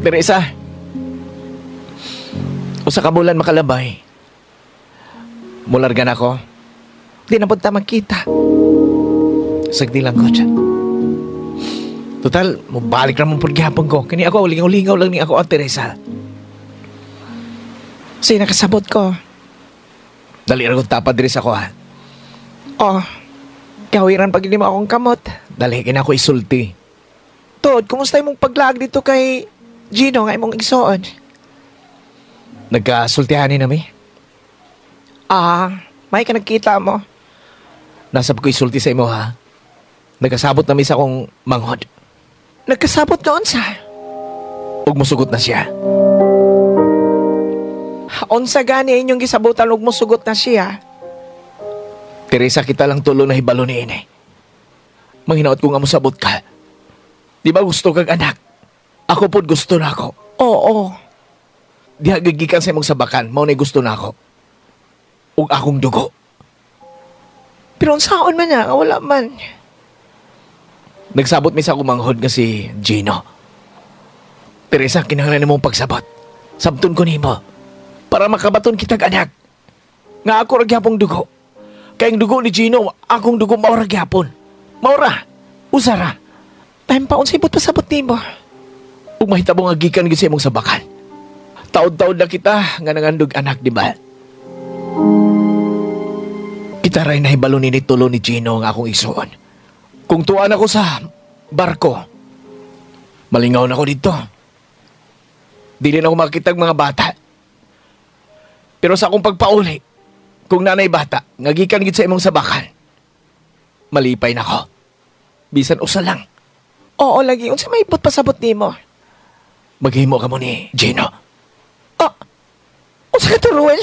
Teresa, usa ka bulan makalabay. Mularga na ako. Di na punta magkita. Sagdi lang ko dyan. Total, mubalik na mong pagyapon ko. Kani ako, lingaw-lingaw lang ni ako ang Teresa. Kasi nakasabot ko. Dali ra kong tapad diri sa ko ha. Oh, kawiran pag hindi mo akong kamot. Dali, kina ako isulti. Tod, kumusta imong paglaag dito kay Gino nga imong igsoon? Nagkasultihan ni nami. Ah, may ka nagkita mo. Nasab ko isulti sa imo ha. Nagkasabot na mi sa akong manghod. Nagkasabot noon sa. Ug musugot na siya. Unsa gani inyong gisabutan ug musugot na siya? Teresa, kita lang tulo na hibalo ni ini. Manghinaot ko nga mosabot ka. Di ba gusto kag anak? Ako pod gusto na ako. Oo. Diha gigikan sa imong sabakan, mao na gusto na ako. Ug akong dugo. Pero unsaon man na, wala man. Nagsabot mi sa akong manghod nga si Gino. Teresa, kinahanglan nimong pagsabot. Sabton ko nimo. Para makabaton kitag anak. Nga ako ra gyapong dugo. Kay ang dugo ni Gino, akong dugo mao ra gyapon. Mao ra. Usa ra. Time pa unsay but pasabot nimo. Ug mahitabo nga gikan gyud sa imong sabakan. Taod-taod na kita nga nangandog anak, di ba? Kita ray nahibalo ni tulo ni Gino nga akong igsuon. Kung tuan ako sa barko, malingaw na ako dito. Dili na ako makitag mga bata. Pero sa akong pagpauli, kung nanay bata, nga gikan gid sa imong sabakan, malipay na ko. Bisan usa lang. Oo, lagi. Unsa may ibot pasabot nimo? Maghimo ka mo ni Gino. Ah, unsa ka to, Ruel?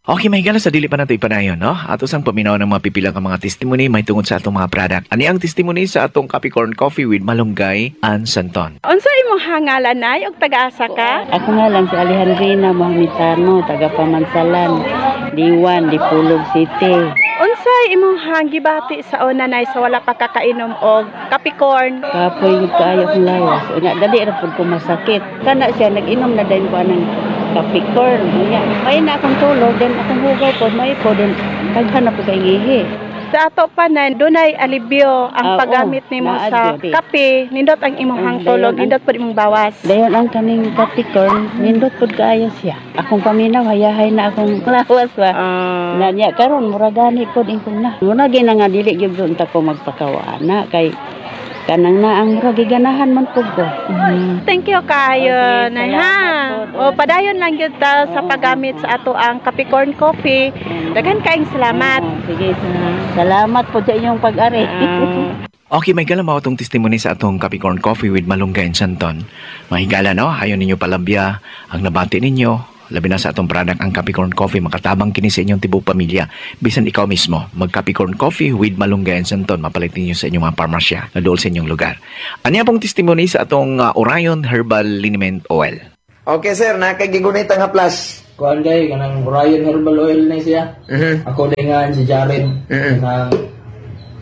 Okay, mahigala sa dili pa nato ipanayon, no? Ato sang paminaw ng mga pipilang ka mga testimony may tungod sa atong mga product. Ani ang testimony sa atong Capricorn Coffee with Malunggay and Santon. Unsa imong hangalan nay ug taga-asa ka? Ako nga lang si Alejandrina Mohamitano, taga Pamansalan, Diwan, Dipulog City. Unsa imong hangibati sa una nay sa wala pa kakainom og Capricorn? Kapoy gud kaayo akong lawas. Unya dali ra pud ko masakit. Kana siya nag-inom na dayon ko anang Capricorn. Unya may na akong tulog, then akong hugaw pod may po then daghan na pud kay ngihi. Sa ato pa nay dunay alibyo ang Ah, paggamit oo, nimo naa sa gyud. kape, nindot ang imong Ang hangtulog, dayon ang- nindot pud imong bawas. Dayon ang kaning Capricorn, nindot pud kaayo siya. Akong paminaw hayahay na akong lawas ba. Ah. Na niya karon mura gani pod ingkon na. Muna gyud na nga dili gyud unta ko magpakawa na kay kanang na ang mura giganahan man pud ko. Thank you kayo, Okay, nay ha. salamat po. O padayon lang gyud ta sa Oo. paggamit sa ato ang Capricorn Coffee. Daghan kaayong salamat. Oo, sige, salamat po sa inyong pag-ari. Okay, may gala mao atong testimony sa atong Capricorn Coffee with Malunggay and Santon. Mahigala, no? Ayon ninyo palabya ang nabati ninyo. Labi na sa atong product ang Capricorn Coffee, makatabang kini sa inyong tibuok pamilya. Bisan ikaw mismo, mag Capricorn Coffee with Malunggay and Santon, mapalit ninyo sa inyong mga parmasya na dool sa inyong lugar. Anya pong testimony sa atong Orion Herbal Liniment Oil. Okay sir, nakagigunit ang haplas. Kuan kay kanang Orion Herbal Oil na siya. Mhm. Ako din nga si Jared. Kanang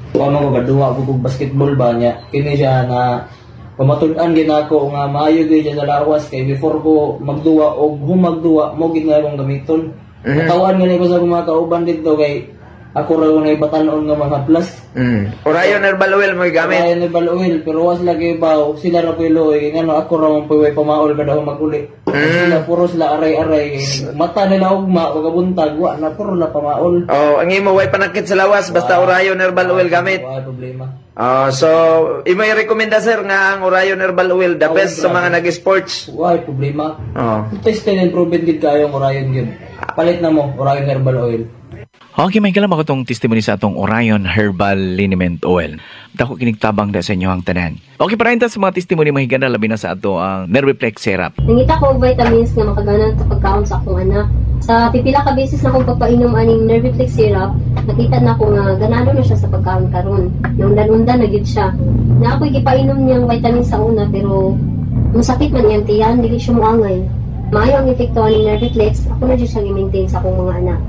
kuan mo gaduwa ko kog basketball ba niya. Kini siya na pamatud-an gid nako nga maayo gyud siya sa lawas kay before ko magduwa og humagduwa mo gid nga akong gamiton. Katawan gani ko sa akong mga kauban dito kay ako ra na ibatan-on nga mga plus. Orion Herbal Oil mo gamit. Orion Herbal Oil pero was lagi baw sila ra puy luoy kay ngano ako ra man puy way pamaol kada maguli. Sila puro sila aray-aray kay mata nila ugma pagabuntag wa na puro na pamaol. Oh, ang imo way panakit sa lawas basta Orion Herbal Oil gamit. Wa problema. Oh, so imo i-recommenda sir nga ang Orion Herbal Oil the Oh, best sa grabe. mga nag-sports. Wa problema. Oh. Tested and proven gid kayo ang Orion gyud. Palit na mo Orion Herbal Oil. Okay, may galam ako tong testimony sa atong Orion Herbal Liniment Oil. Dako kinigtabang da sa inyo ang tanan. Okay, para sa mga testimony mahigana labi na sa ato ang Nerviplex Syrup. Nangita ko og vitamins nga makaganan sa pagkaon sa akong anak. Sa pipila ka beses na akong pagpainom aning Nerviplex syrup, nakita na ko nga ganado na siya sa pagkaon karon. Naundan-undan na gyud siya. Na ako'y gipainom niyang vitamins sa una pero masakit man iyang tiyan, dili siya moangay. Maayo ang epekto aning Nerviplex, ako na jud siyang i-maintain sa akong mga anak.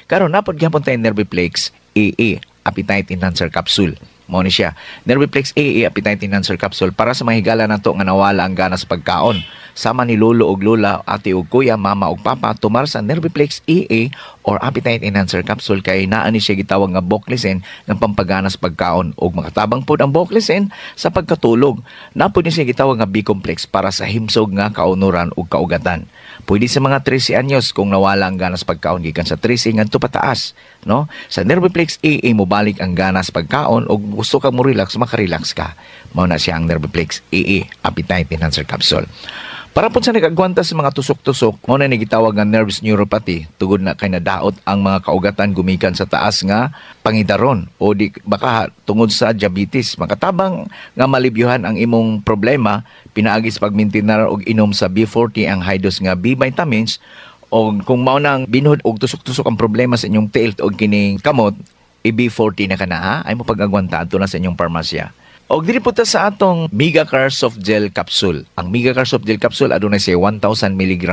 Karon napod gyapon tayo Nerviplex AA. Appetite Enhancer Capsule. Mao ni siya. Nerviplex AA Appetite Enhancer Capsule para sa mga higala nato nga nawala ang gana sa pagkaon. Sama ni lolo og lola, ate og kuya, mama og papa, tumar sa Nerviplex AA or Appetite Enhancer Capsule kay naa ni siya gitawag nga Boclesen ng pampagana sa pagkaon og makatabang pod ang Boclesen sa pagkatulog. Napod ni siya gitawag nga B-complex para sa himsog nga kaunuran ug kaugatan. Pwede sa mga 13 anyos kung nawala ang gana sa pagkaon gikan sa 13 ngadto pataas, no? Sa Nerviplex AA mobalik ang gana sa pagkaon og gusto ka mo relax, makarelax ka. Mao na siya ang Nerviplex AA Appetite Enhancer Capsule. Para po sa nag-agwanta sa mga tusok-tusok, mao na ni gitawag nga nerves neuropathy, tugod na kay nadaot ang mga kaugatan gumikan sa taas nga pangidaron o di baka tungod sa diabetes. Makatabang nga malibyuhan ang imong problema pinaagi sa pagmintinar og inom sa B40 ang high dose nga B vitamins, o kung mao nang binhod og tusok-tusok ang problema sa inyong tiil og kining kamot, i-B40 na ka na ha, ay mo pag-agwanta adto na sa inyong parmasya. Og diri po ta sa atong Megacar Soft Gel Capsule. Ang Megacar Soft Gel Capsule adunay siya 1000 mg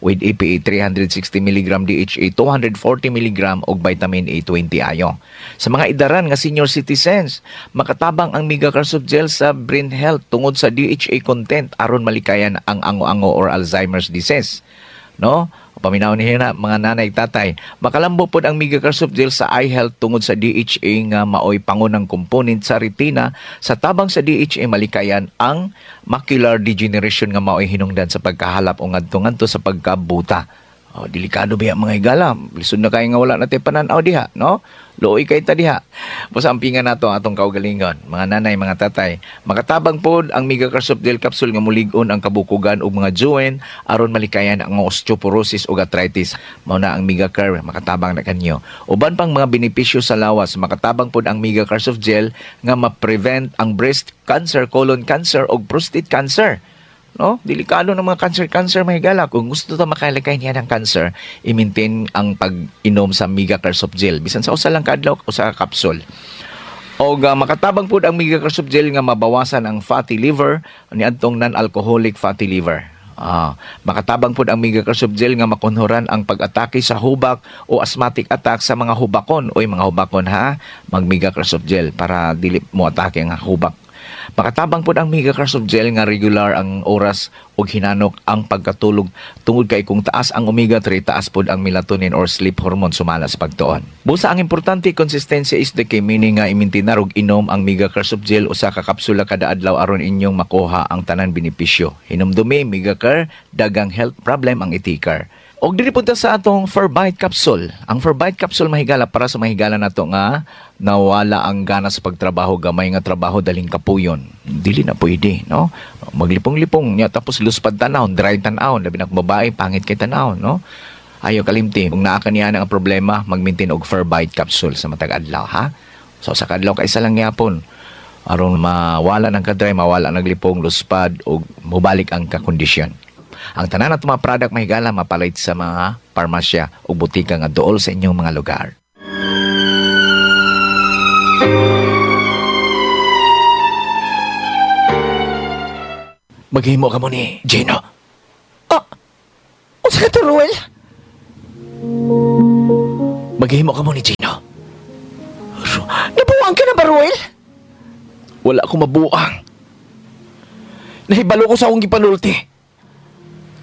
with EPA 360 mg, DHA 240 mg og vitamin A 20 ayo. Sa mga idaran nga senior citizens, makatabang ang Megacar Soft Gel sa brain health tungod sa DHA content aron malikayan ang ango-ango or Alzheimer's disease. No? Paminaw niyo na mga nanay tatay. Makalambo pod ang Megacar Soft Gel sa eye health tungod sa DHA nga maoy pangunang component sa retina. Sa tabang sa DHA malikayan ang macular degeneration nga maoy hinungdan sa pagkahalap o ngadto-ngadto sa pagkabuta. Oh, delikado ba mga higala? Lisod na kayo nga wala na tayo pananaw diha, no? Luoy kay ta diha. Basta ampingan nato ang atong kaugalingon, mga nanay, mga tatay. Makatabang pod ang Megacar Soft Gel Capsule nga mulig-on ang kabukugan og mga joint aron malikayan ang osteoporosis ug arthritis. Mao na ang Megacar, makatabang na kanyo. Uban pang mga benepisyo sa lawas, makatabang pod ang Megacar Soft Gel nga ma-prevent ang breast cancer, colon cancer ug prostate cancer. No? Delikado ng mga cancer-cancer, mga higala. Kung gusto ta makalikay niya ng cancer, i-maintain ang pag-inom sa Megacar Soft Gel. Bisan sa usa lang kaadlaw, usa ka capsule. Og makatabang pud ang Megacar Soft Gel nga mabawasan ang fatty liver niadtong non-alcoholic fatty liver. Makatabang pud ang Megacar Soft Gel nga makunhuran ang pag-atake sa hubak o asthmatic attack sa mga hubakon. Oy, mga hubakon ha, mag Megacar Soft Gel para dili mo atake ang hubak. Makatabang pud ang Megacar Soft Gel nga regular ang oras ug hinanok ang pagkatulog tungod kay kung taas ang omega-3, taas pud ang melatonin or sleep hormone sumala sa pagtuon. Busa ang importante, consistency is the key, meaning nga imintinar og inom ang Megacar Soft Gel usa ka kapsula kada adlaw aron inyong makuha ang tanan benepisyo. Hinumdumi, Megacar, dagang health problem ang itikar. Og diri punta sa atong Ferbite Capsule. Ang Ferbite Capsule mahigala para sa mahigala nato nga nawala ang gana sa pagtrabaho, gamay nga trabaho daling kapuyon. Dili na pwede, no? Maglipong-lipong niya tapos luspad tan-awon, dry tan-awon, labi na kung babae pangit kay tan-awon, no? Ayo kalimti, kung naa ka niya ang problema, mag-maintain og Ferbite Capsule sa matag adlaw, ha? So sa kadlaw kay isa lang gyapon aron mawala ng kadry, mawala naglipong, luspad ug mobalik ang kakondisyon. Ang tanan nato mga product mahigala mapalit sa mga parmasya o butika nga duol sa inyong mga lugar. Maghimo ka mo ni Gino. Ah, unsa ka to, Ruel? Maghimo ka mo ni Gino. Nabuang ka na ba, Ruel? Wala akong mabuang. Nahibalo ko sa akong gipanulti.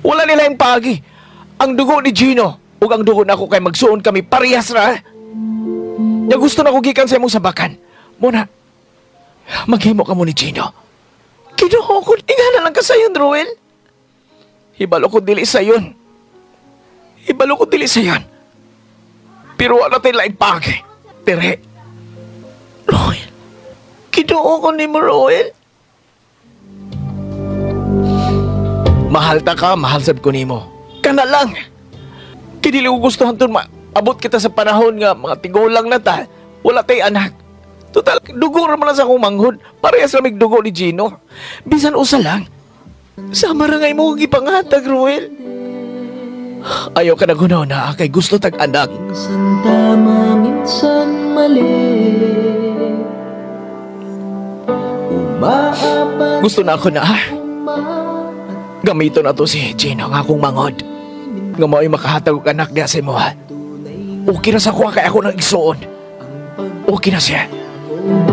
Wala nila yung pagi. Ang dugo ni Gino ug ang dugo nako kay magsuon kami parehas ra. Nya gusto na ko gikan sa imong sabakan. Muna, maghimo ka mo ni Gino. Kinuho ko, ingana lang ka sayon, Ruel. Hibalo ko dili sayon. Hibalo ko dili sayon. Pero wala tayo laing pagi. Tere. Ruel. Kinuho ko ni mo, Ruel. Mahal ta ka, mahal sab ko nimo. Kana lang. Kay dili ko gusto hantud maabot kita sa panahon nga mga tigulang na ta. Wala tay anak. Total, dugo ra man lang sa akong manghod. Parehas ra mig dugo ni Gino. Bisan usa lang. Sama ra nga imong gipangatag, Ruel. Ayaw ka nagunaw na kay gusto tag anak. Minsan tama, minsan mali. Umaapat Gusto na ako na. Gamito na to si Gino nga akong mangod. Nga mao'y makahatag og anak diha sa imo, ha. Okay ra sa kuha kay ako nang igsuon. Okay na siya. Mo ba?